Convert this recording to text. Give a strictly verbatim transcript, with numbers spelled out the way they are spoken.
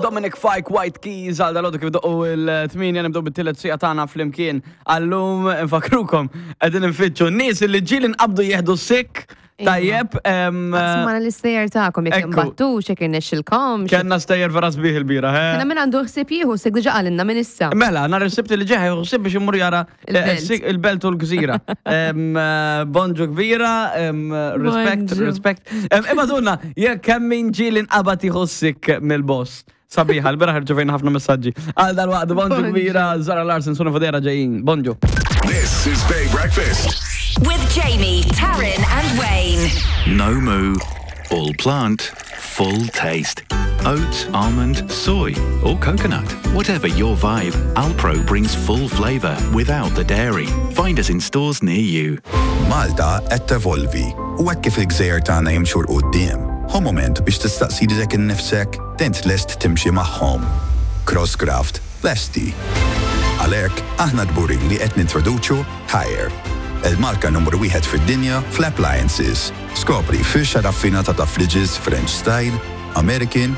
Dominic Fike, White Keys, għal dal kif doqqu il-tmienja nibdew bit-tielet siegħa tagħna flimkien. Għallum nfakrukom qegħdin nfittxu nies li ġieli nqabdu jieħdu sick. Tajjeb, em, Smana l-istejjer tagħkom jekk Ekku. imbattu, xek irnexxilkom. Kellna stejjer vera sbieħ il-bieraħ, eh? Kena min għandu ħsieb jieħu sick diġà qalilna minn issa. Mela, nhar is-Sibt li ġej ħsieb biex imur jara eh, Il-belt. sik- il-belt u l-gżira. Em, eh, Bonġu kbira, em, respect, Bonġu. respect. Em, Imma dunna, jekk kemm min ġieli nqabad jieħu sick mill-boss. Sabiħa, l-bieraħ irċevejna ħafna messaġġi. Għal dal-waqt, bonġu Bonġu. kbira, Zara Larsson, Sona Fodera ġejjin. Bonġu. This is Bay Breakfast. With Jamie, Taryn, and Wayne. No moo, all plant, full taste. Oat, almond, soy, or coconut. Whatever your vibe, Alpro brings full flavour without the dairy. Find us in stores near you. Malta qed tevolvi u hekk kif il-gżejjer tagħna jimxu 'l quddiem. Hu moment biex tistaqsi lilek innifsek int lest timxi magħhom. Crosscraft lesti. Għalhekk aħna kburin li qed nintroduċu Haier, il-marka numru wieħed fid-dinja fl-appliances. Skopri firxa raffinata ta' fridges French style, American